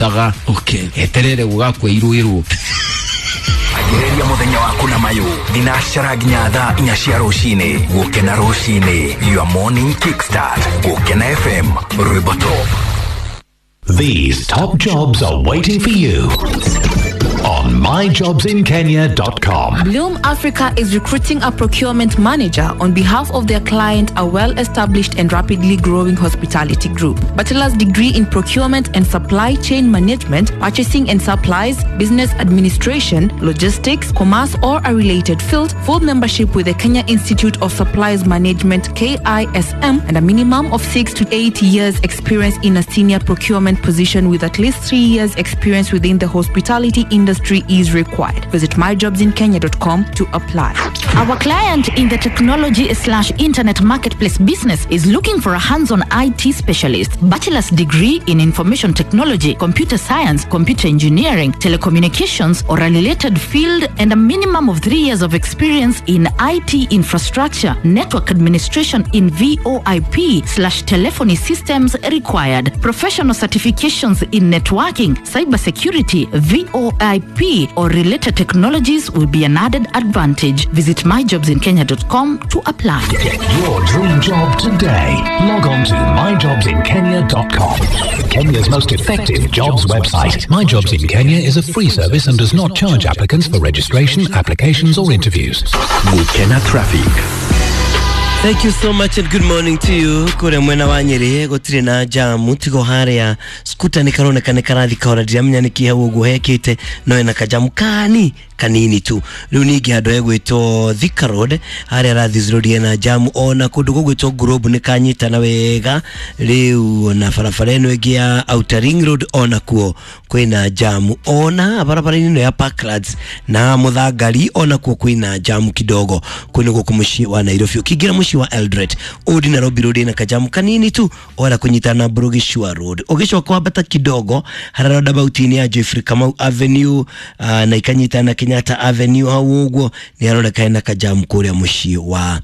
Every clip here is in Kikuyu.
Taga. Okay. Eterere gũgakua irũĩrwo. Anjĩrĩria mũthenya waku na mayũ thinacara nginya thaa 4 cia rũcinĩ. Gũkena rũcinĩ, your morning kickstart. Gũkena FM, rwĩmbo top. These top jobs are waiting for you on myjobsinkenya.com. Bloom Africa is recruiting a procurement manager on behalf of their client, a well established and rapidly growing hospitality group. Bachelor's degree in procurement and supply chain management, purchasing and supplies, business administration, logistics, commerce, or a related field, full membership with the Kenya Institute of Supplies Management KISM, and a minimum of 6 to 8 years experience in a senior procurement position with at least 3 years experience within the hospitality industry is required. Visit myjobsinkenya.com to apply. Our client in the technology/internet marketplace business is looking for a hands-on IT specialist, bachelor's degree in information technology, computer science, computer engineering, telecommunications, or a related field, and a minimum of 3 years of experience in IT infrastructure, network administration in VoIP/telephony systems required. Professional certifications in networking, cybersecurity, VoIP, or related technologies will be an added advantage. Visit myjobsinkenya.com to apply. Get your dream job today. Log on to myjobsinkenya.com. Kenya's most effective jobs website. My Jobs in Kenya is a free service and does not charge applicants for registration, applications, or interviews. Gũkena traffic. Thank you so much and good morning to you. Kũrĩa mwena wa Nyĩrĩ gũtirĩ na jamu tigo harĩa skuta nĩ karoneka nĩ karathi kahora, ndiramenya nĩ kĩ hau ũguo hekĩte, no ena kajamu kani kanini tu. Rĩu ningĩ handũ hegwĩtwo Thika Road harĩa Rathis Road ena jamu, ona kũndũ gũgwĩtwo Globe nĩ kanyitana wega. Rĩu ona barabara ĩno ĩngĩ ya Outer Ring Road ona kuo kwĩna jamu, ona barabara-inĩ ĩno ya Parklands na Muthangari ona kuo kwĩna jamu kidogo. Kũu nĩ gũkũ mũciĩ wa Nairobi. Ũkĩingĩra mũciĩ wa Eldoret, Old Nairobi Road ĩna kajamu kanini tu wala kunyitana na Burugishua Road. Ũgĩcoka wambata kidogo harĩa roundabout-inĩ ya Geoffrey Kamau Avenue na ikanyitana na Kenyatta Avenue, hau ũguo nĩ haroneka hena kajamu kũrĩa mũciĩ wa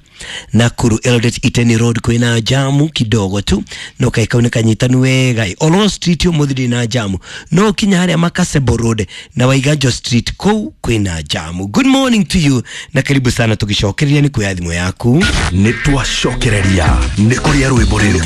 Nakuru. Eldoret Iten Road kwĩna jamu kidogo tu no kaĩ kau nĩ kanyitanu wega. Oloo Street ũmũthĩ ndĩ na jamu, no kinya harĩa Makasebo Road na Waiganjo Street kũu kwĩna jamu. Good morning to you na karibu sana, tũgĩcokereria nĩ kuoya thimũ yaku. Nĩ twacokereria nĩ kũrĩa rwĩmbo rĩrĩ.